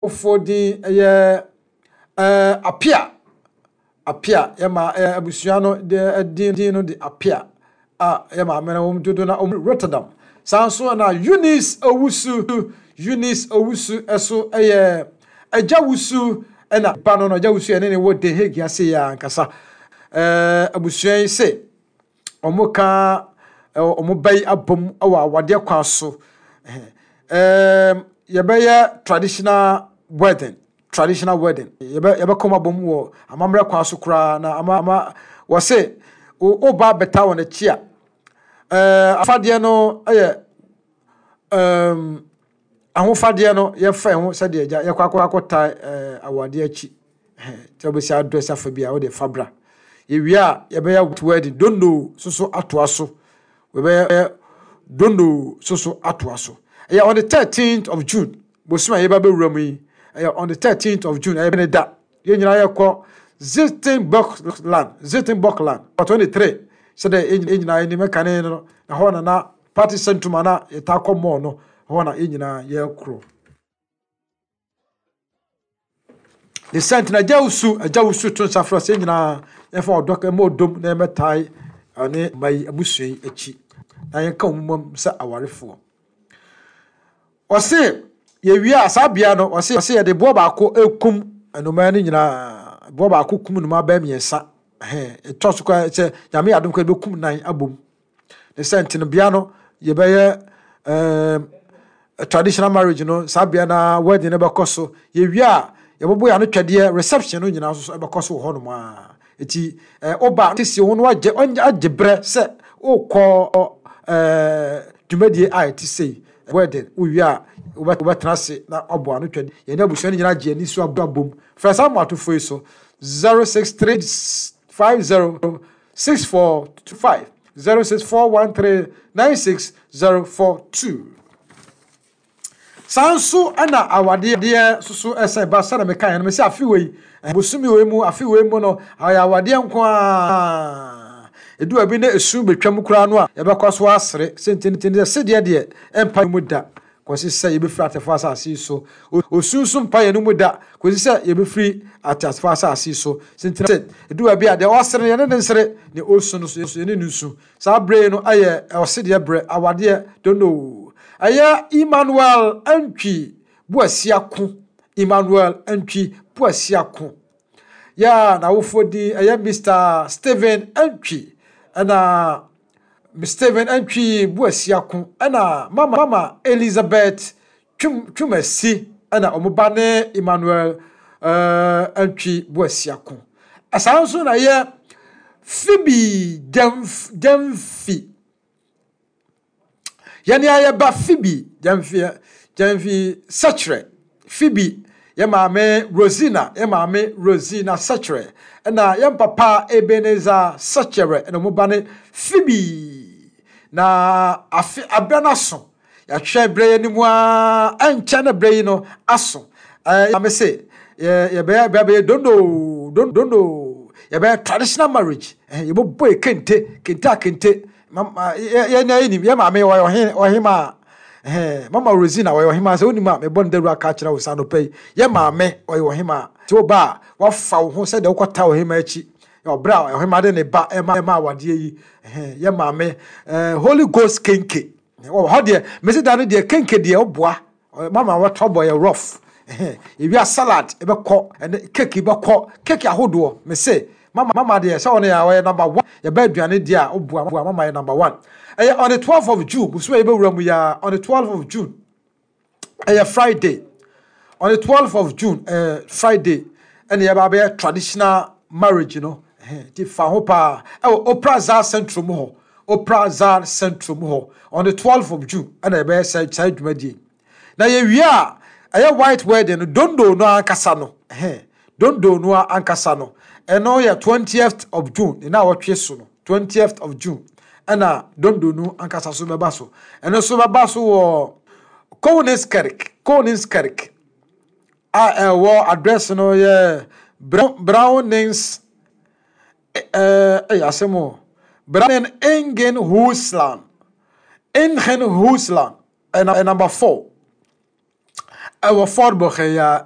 Awofoɔ din yɛ ɛɛ Apia. Apia yɛ ma ɛɛ abusua no de din din no de Apia a yɛ maame no wɔn dodo na wɔn Rotterdam. Saa nso na Eunice Owusu Eunice Owusu ɛso yɛ Agya Wusu ɛna ba no no Agya Wusu ɛne ne wɔ Den Hague ase yɛ ankasa. Ɛɛ abusua yi se wɔka wɔn ba yi abom wɔ awadeɛ kwan so. Ɛɛm yɛbɛyɛ traditional wedding, traditional wedding. Yɛbɛ yɛbɛka wɔn abom wɔ amammerɛ kwan so koraa na ama ama wɔse wo ba bɛta wɔn akyi a, ɛɛ afadeɛ no yɛ ɛɛm ahofadeɛ no yɛfa ho sɛdeɛ agya yɛkɔ akɔ akɔta ɛɛ awadeɛ akyi. Sɛ wobɛsi adrɛs afa bi a wode fa bra. Yɛwie a yɛbɛyɛ wedding dondo soso atoa so. Yɛbɛyɛ dondo soso atoa so. Ɛyɛ on the 13th of June. Bosom a yɛba bɛwura mu yi. Ɛyɛ on the 13th of June. Ɛyɛ ne da. Yɛn nyinaa yɛkɔ Zittenböckland. Zittenböckland. 23. Sɛdeɛ yɛn nyinaa yɛnim ɛkane no na hɔ na na party centrum a na yɛtaa kɔ mall no hɔ na yɛn nyinaa yɛkorɔ. Ne sɛ nti na agya wusu agya wusu to nsa frɛ sɛ nyinaa yɛmfa ɔdɔ ɛma ɔdom na yɛmmɛtae ɔne mma yi abusua yi akyi na yɛnka wɔn mmom sɛ awarefoɔ. Ɔse yɛwie a saa bea no ɔse ɔse yɛde boɔ baako ekum nnomaa no nyinaa boɔ baako kum nnomaa bɛyɛ mmiɛnsa ɛhɛn ɛtɔ so koraa sɛ nyame yɛ adom koraa yɛbɛkum nan abom. Ne sɛ nti no bea no yɛbɛyɛ ɛɛm traditional marriage no saa bea na wedding no bɛkɔ so yɛwie a yɛbɛbɔ yɛn ano twɛdeɛ reception no nyinaa nso ɛbɛkɔ so wɔ hɔnom a eti ɛɛ ɔba sisi ho no agye agye brɛ sɛ ɔkɔ ɛɛ dwumadie a ɛte sei wedding wowie a wobɛtena ase na wabɔ ano twɛdeɛ yɛne abusua no nyinaa gye ani so abom frɛ saa mmoatofoɔ yi so 063 50 6425 06413 96042. Saa nso na awadeɛ soso ɛsɛn ba sɛdeɛ meka yɛn no mesɛ afe wei bosome wei mu afe wei mu no ayɛ awadeɛ nko ara edu baabi na esu betwam koraa no a yɛbɛkɔ so asere sententen sɛ sedeɛ deɛ ɛmpa mu da kɔsi sɛ yɛbɛfiri atefoɔ asase yi so. Osu nso mpa yɛn mu da kɔsi sɛ yɛbɛfiri ateasefoɔ asase yi so. Sentena sɛ, ɛdu baabi a, deɛ ɔsere no, yɛne no nsere, deɛ ɔsu no nso, yɛne no nsu. Saa berɛ yi no yɛ ɔsedeɛ berɛ, awadeɛ, don't know. Ɛyɛ Emmanuel Antwi Boasiako, Emmanuel Antwi Boasiako. Yɛ a n'awofoɔ din ɛyɛ Mister Stephen Antwi, ɛna Stephen Antwi Boasiako ɛna Mama Mama Elizabeth Twum Twumasi ɛna wɔn ba ne Emmanuel uh, Antwi Boasiako. Saa nso na ɛyɛ Phoebe Gyamf Gyamfi. Yɛne a yɛba Phoebe Gyamfi Gyamfi Sɛkyerɛ. Phoebe yɛ maame Rosina yɛ maame Rosina Sɛkyerɛ ɛna yɛn papa Ebenezer Sɛkyerɛ ɛna wɔn ba ne Phoebe. Na afe abrɛ no aso yɛahwɛ berɛ yi anim ara ɛnkyɛ na berɛ yi no aso. Ɛɛ maame se yɛ yɛbɛyɛ bɛyɛ dondo dondo yɛbɛyɛ traditional marriage ɛhɛn yɛbɛbɔ yɛ kente kente a kente mama yɛ yɛ na yɛnim yɛ maame ɔyɛ ɔhen ɔhemaa ɛhɛn mama Rosina ɔyɛ ɔhemaa sɛ wonim a mebɔ ne dawuro aka akyerɛ wo saa anɔpa yi yɛ maame ɔyɛ ɔhemaa nti wo ba a wafa wo ho sɛdeɛ wokɔta ɔhemaa akyi ɔbrɛ a ɔhemaa de ne ba ɛma ɛma awadeɛ yi ɛhɛn yɛ maame ɛɛ Holy Ghost kenke wɔ hɔ deɛ mesi da no deɛ kenke deɛ ɔboa Mama wɔtɔ bɔ yɛ rough. Ewia salad bɛkɔ ɛne cake bɛkɔ cake ahodoɔ mese mama mama deɛ sɛ ɔno yɛ ɔyɛ number one yɛbɛ aduane deɛ a ɔboa boa mama yɛ number one ɛyɛ on the 12th of June bosome a yɛbɛwura mu yɛ on the 12th of June ɛyɛ Friday on the 12th of June ɛyɛ Friday ɛna yɛba abɛyɛ traditional marriage no ti fa ho paa ɛwɔ Opera Zar Central mu hɔ Opera Zar Central mu hɔ on the 12th of June ɛna yɛbɛyɛ saa saa dwumadie. Na yɛwie a ɛyɛ white wedding no dondo no ankasa no ɛhɛn dondo no ankasa no ɛno yɛ 20th of June ne na wɔtwe so no 20th of June ɛna dondo no ankasa so bɛba so ɛno nso bɛba so wɔ Koningskerk Koningskerk a ɛwɔ address no yɛ Brownings ɛyɛ asɛm o. Brandon Ingen Husland. Ingen Husland. Ɛna number 4. Ɛwɔ Ford Bɔkɛya.